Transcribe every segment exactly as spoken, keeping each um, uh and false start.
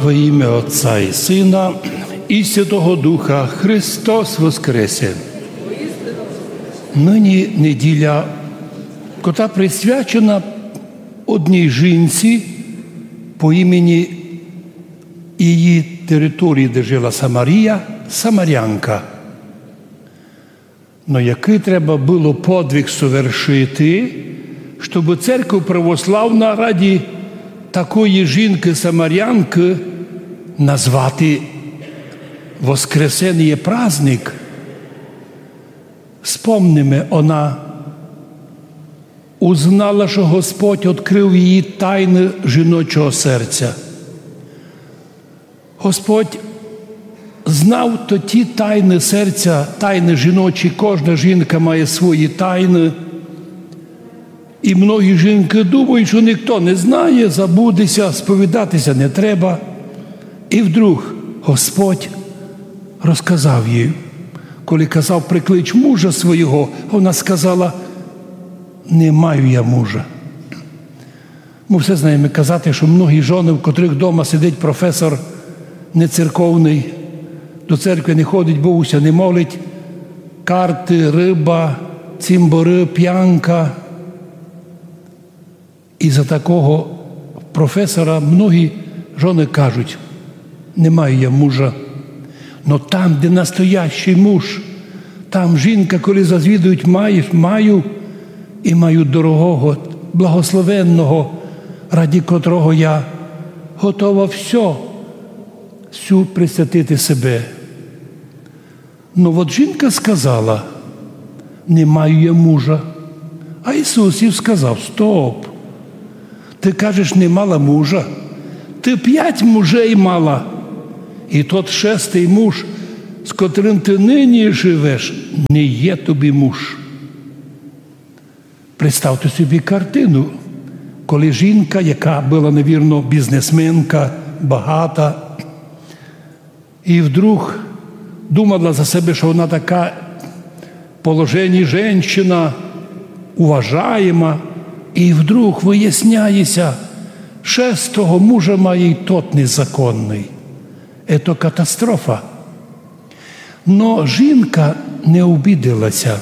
Во имя Отца и Сына и Святого Духа. Христос воскресе! Нині неділя, котра присвячена одній жінці по імені її території, де жила Самарія, самарянка. Но якый треба было подвиг совершити, щоб церква православна ради такої жінки-самарянки назвати воскресеніє праздник? Спомниме, она узнала, што Господь открыв її тайны жіночого серця. Господь знав тоті тайны серця, тайны жіночі, кожна жінка має свої тайны. І многі жінкы думають, што ніхто не знає, забудеся, сповідатися не треба. І вдруг Господь розказав їй, коли казав: «Приклич мужа свого», вона сказала: «Не маю я мужа». Мы все знаєме казати, што многі жоны, в котрых дома сидить професор нецерковный, до церкви не ходить, Богу ся не молить, карты, рыба, цімборы, пянка. І за такого професора многі жоны кажуть: «Не маю я мужа». Но там, де настоящий муж, там жінка, коли зазвідують: «Маєш?» «Маю, і маю дорогого, благословенного, ради котрого я готова всьо, всю присвятити себе». Но от жінка сказала: «Не маю я мужа». А Ісус їй сказав: «Стоп! Ты кажеш, не мала мужа? Ты пять мужей мала, і тот шестый муж, з котрым ты нині живеш, не є тобі муж». Представте собі картину, коли жінка, яка была, навірно, бізнесменка, багата, і вдруг думала за себе, што вона така положені женщина, уважаєма, і вдруг выясняє ся, шестого мужа має, і тот незаконный. Ето катастрофа. Но жінка не обідила ся,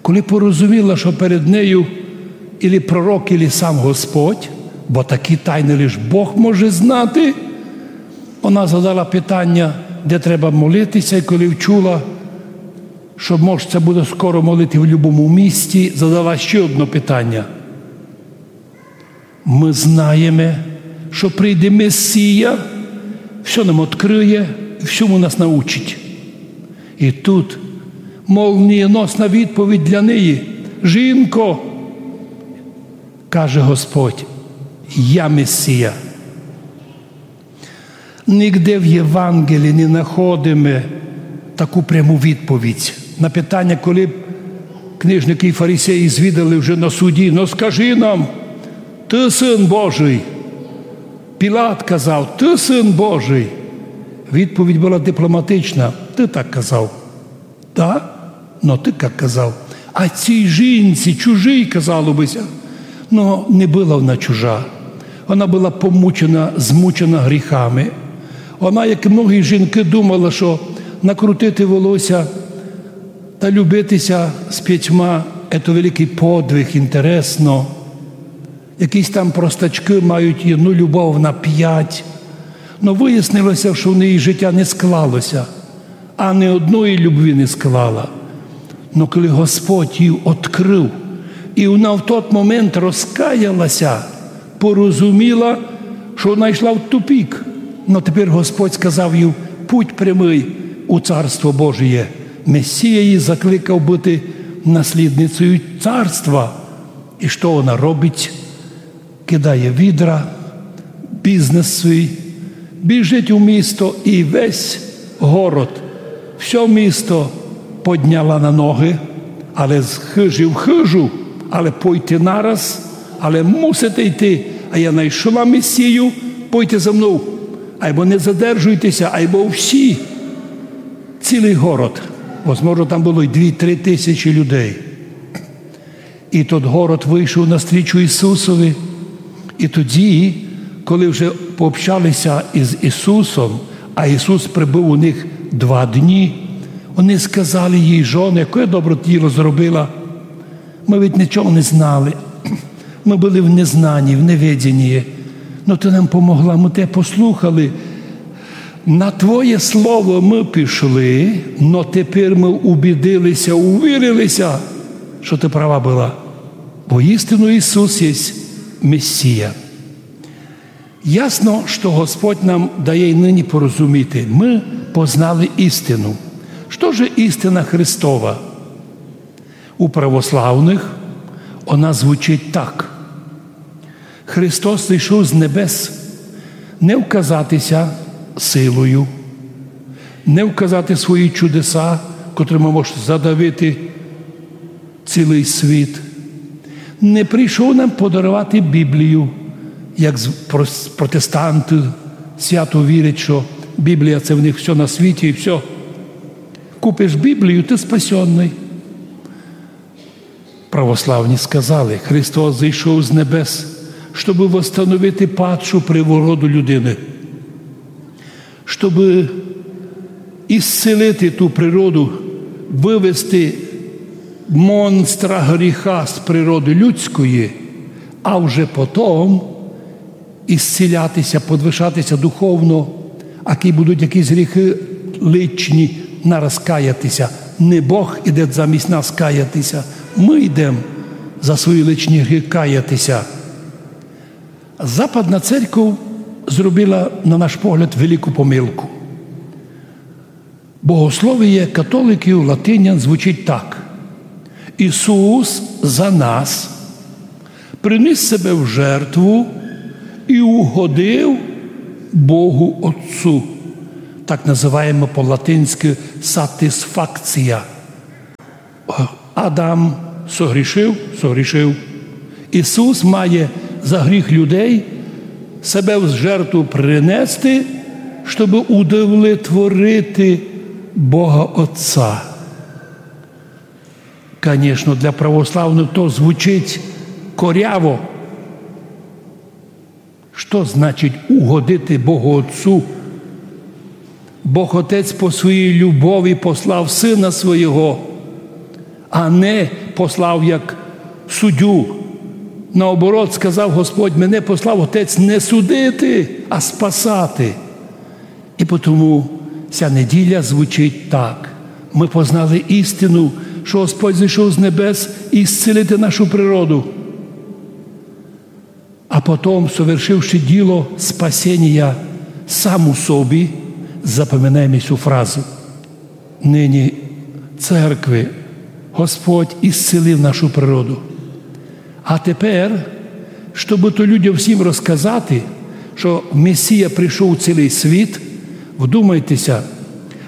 коли порозуміла, што перед нею ілі пророк, ілі сам Господь, бо такі тайны лиш Бог може знати. Вона задала питаня, де треба молити ся, і коли вчула, што мож ся буде скоро молити в любому місті, задала ще одно питаня. Мы знаєме, што прийде Месія, всьо нам открыє, всьому нас научить. І тут молнієносна відповідь для неї: «Жінко, — каже Господь, — я Месія». Нигде в Євангелії не находиме таку пряму відповідь на питаня, коли б книжникы і фарисеї звідали вже на суді: «Но скажи нам, ты Сын Божий?» Пілат казав: «Ты Сын Божий». Відповідь была дипломатична: «Ты так казав». Да, но ты как казав. А цій жінці, чужій, казало бы ся, но не была вона чужа. Вона была помучена, змучена гріхами. Вона, як і многі жінкы, думала, што накрутити волосся та любити ся з пятьма — ето великый подвиг, інтересно. Якісь там простачкы мають одну любов на пять. Но выяснило ся, што в неї житя не склало ся, а ни одної любви не склала. Но коли Господь їй открыв, і вона в тот момент розкаяла ся, порозуміла, што вона йшла в тупик. Но тепер Господь сказав їй: «Путь прямый у Царство Божіє». Месія її закликав быти наслідницею Царства. І што вона робить? Кидає відра, бізнес свій, біжить у місто і весь город, всьо місто подняла на ногы, але з хыжі в хыжу, але пойте нараз, але мусите йти, а я найшла Месію, пойте за мнов, айбо не задержуйте ся, айбо всі, цілый город, возможно, там было й дві-три тисячі людей. І тот город вышов навстрічу Ісусови. І тоді, коли вже пообщалися із Ісусом, а Ісус пребыв у них два дні, вони сказали їй: «Жоны, яке добре діло зробила. Мы ведь нічого не знали. Мы были в незнанні, в неведенні. Но ты нам помогла, мы тебе послухали. На твоє слово мы пішли, но тепер мы убідилися, увірилися, што ты права была. Воістину Ісус єсть Месія». Ясно, што Господь нам дає й нині порозуміти. Мы познали істину. Што же істина Христова? У православных она звучить так: Христос зійшов з небес не вказати ся силою, не вказати свої чудеса, котрыми може задавити цілый світ. Не прийшов нам подаровати Біблію, як з-, прос-, протестанты свято вірять, што Біблія — це в них всьо на світі і всьо. Купиш Біблію, ты спасенный. Православні сказали: Христос зійшов з небес, щобы восстановити падшу природу людины, щобы ісцілити ту природу, вывести монстра гріха з природы людської, а вже потом ісцілятися, подвишатися духовно, а кідь будуть якісь гріхы личні, нараз каяти ся. Не Бог іде замість нас каяти ся, мы йдем за свої личні гріхы каяти ся. Западна церков зробила, на наш погляд, велику помилку. Богословіє католиків, латинян, звучить так: Ісус за нас приніс себе в жертву і угодив Богу Отцу. Так называєме по-латинськы сатисфакція. Адам согрішив, согрішив. Ісус має за гріх людей себе в жертву принести, щобы удовлетворити Бога Отця. Конечно, для православных то звучить коряво. Што значить угодити Богу Отцу? Бог Отець по своїй любові послав Сына Свого, а не послав як суддю. Наоборот, сказав Господь: «Мене послав Отець не судити, а спасати». І потому ся неділя звучить так. Мы познали істину, што Господь зійшов з небес ісцілити нашу природу. А потом, совершивши діло спасенія сам у собі, запоминаєме сю фразу. Нині церкви Господь ісцілив нашу природу. А тепер, щобы то людям всім розказати, што Месія прийшов у цілый світ, вдумайте ся,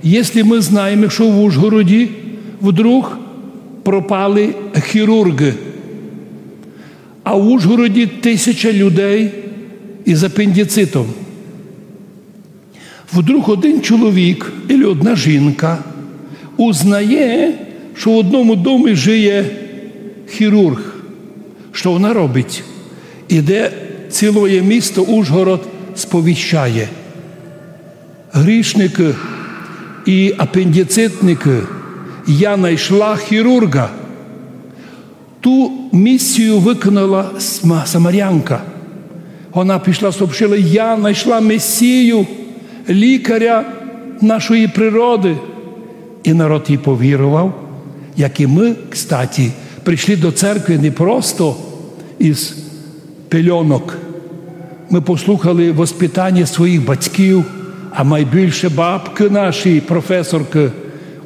єсли мы знаєме, што в Ужгороді вдруг пропали хірурґы, а в Ужгороді тисяча людей із апендицитом. Вдруг один чоловік или одна жінка узнає, што в одному домі жиє хірурґ. Што вона робить? Іде, цілоє місто Ужгород сповіщає: «Грішникы і апендицитникы, я найшла хірурґа». Ту місію выконала сма-, самарянка. Вона пішла, сообщила: «Я найшла Месію, лікаря нашої природы». І народ їй повірував, як і мы, кстати, прийшли до церкви не просто із пельонок. Мы послухали воспитаня своїх батьків, а майбільше бабкы наші, професоркы.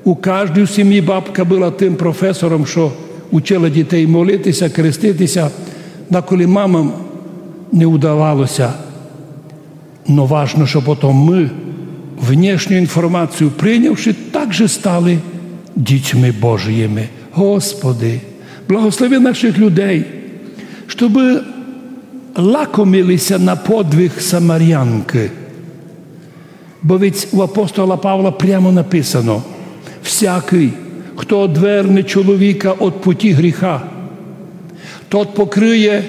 У каждій сімї бабка была тым професором, што учила дітей молити ся, крестити ся, даколи мамам не удавало ся. Но важно, што потом мы, внешню інформацію принявши, также стали дітьми Божыми. Господи, благослови наших людей, щобы лакомили ся на подвиг самарянкы. Бо ведь у апостола Павла прямо написано: «Всякый, хто одверне чоловіка од путі гріха, тот покриє,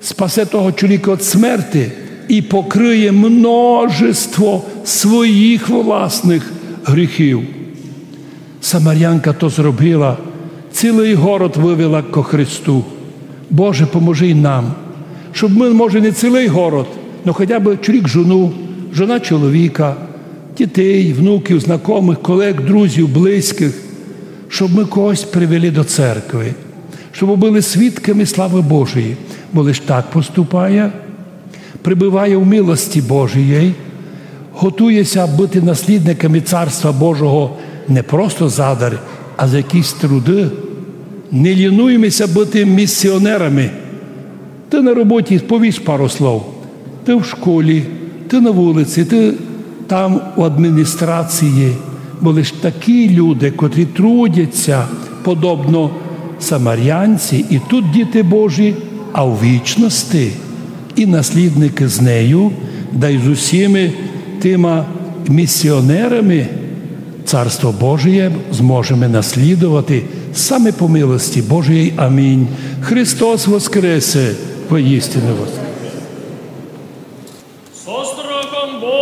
спасе того чоловіка од смерти, і покриє множество своїх власних гріхів. Самарянка то зробила, цілый город вывела ко Христу. Боже, поможи й нам, щоб мы, може, не цілый город, но хотя бы чоловік жону, жона чоловіка, дітей, внуків, знакомых, колеґ, друзів, близькых, щоб мы когось привели до церкви, щоб были свідками славы Божої, бо лиш так поступає, пребыває в милости Божій, готує ся быти наслідниками Царства Божого не просто задарь, а за якісь труды. Не лінуйме ся быти місіонерами. Ты на роботі, повіш пару слов. Ты в школі, ты на вулиці, ты там у адміністрації. Бо лиш такі люди, котрі трудять ся подобно самарянці, і тут діти Божі, а у вічности і наслідникы з нею, да й з усіма тыма місіонерами Царство Божіє зможеме наслідовати саме по милости Божій. Амінь. Христос воскресе! Воістину воскресе!